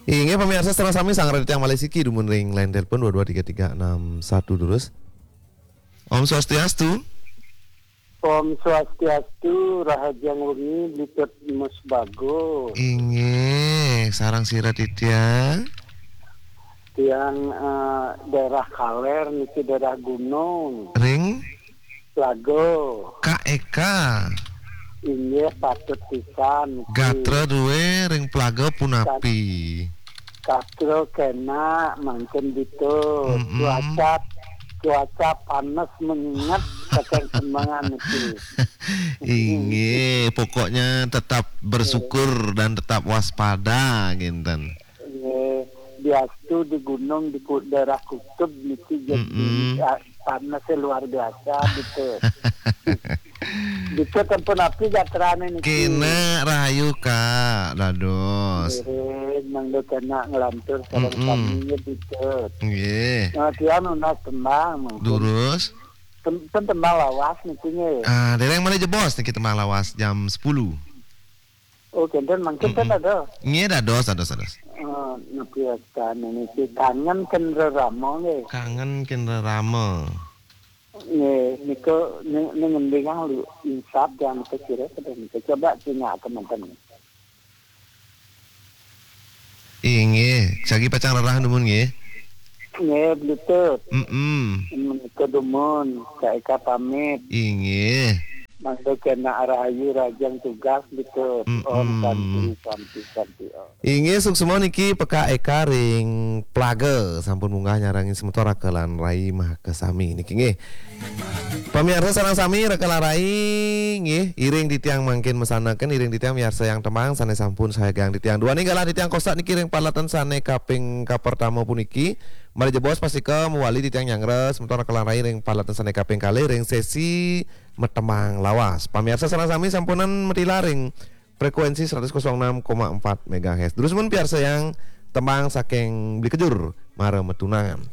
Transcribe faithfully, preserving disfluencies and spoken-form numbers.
Inggih, pamiarsa sareng sami, sareng titiang malih siki dumun ring line telepon dua dua tiga tiga enam satu, durus. Om Swastiastu. Om Swastiastu, rahajeng wengi, Bli Tut Mus Bagus. Inggih, sareng sira titiang? Tiang, eh, daerah Kaler niki, daerah gunung. Ring? Plaga. Kak Eka. Inggih, patut pisan niki. Gatra duwe ring Plaga punapi? Gatra kenak mangkin ditu. Mm-mm. Cuaca, cuaca panas mengingat saking semengan niki. Inggih, pokoknya tetap bersyukur dan tetap waspada, nginten. Nggih, diastu di gunung di ku-, daerah kutub niki, jadi, mm-mm, ah, panasnya luar biasa gitu. Gitu, sampun api gatrane niki. Kenak rahayu, Kak, dados. Nggih, mangda kenak nglantur sareng, mm-mm, sami nggih gitu. Nggih. Nah, tiang nunas tembang mungkin. Durus. Tem-, ten tembang lawas niki nggih. Ah, dereng malih jebos niki tembang lawas jam sepuluh. Oh, kenten mangkin ten, mm-mm, ada. Nggih, dados, dados, dados. Eh, napi wastane niki, Kangen Kendra Rama nggih. Kangen Kendra Rama. Nggih, nika ni, ni ngendingang lu insap yang nika kira pada nika. Coba tanya ke manten. Inggih, sagi pacang rerah dumun nggih. Nggih, Bli Tut. Mm-mm. Menika dumun, Kak Eka pamit. Inggih. Mangda kenak rahayu rahajeng tugas, Bli Tut. Mm-mm. Om Santi, Santi, Santi, Om. Inggih, suksma niki Pekak Eka ring Plaga, sampun munggah nyarengin semeton raka lan rai makasami niki nggih. Pamiarsa sareng sami, raka lan rai nggih, iring titiang mangkin masanekaken, iring titiang miarsayang tembang sane sampun sayagiang titiang. Duaning galah titiang kostak niki ring paralatan sane kaping kapertama puniki. Malih jebos pastika mawali titiang nyanggra semeton raka lan rai ring paralatan sane kaping kalih ring sesi matembang lawas. Pamiarsa sareng sami sampunang matilar ring frekuensi seratus kosong enam koma empat megahertz. Durus mun piarsayang tembang saking Bli Kejur, Mara Matunangan.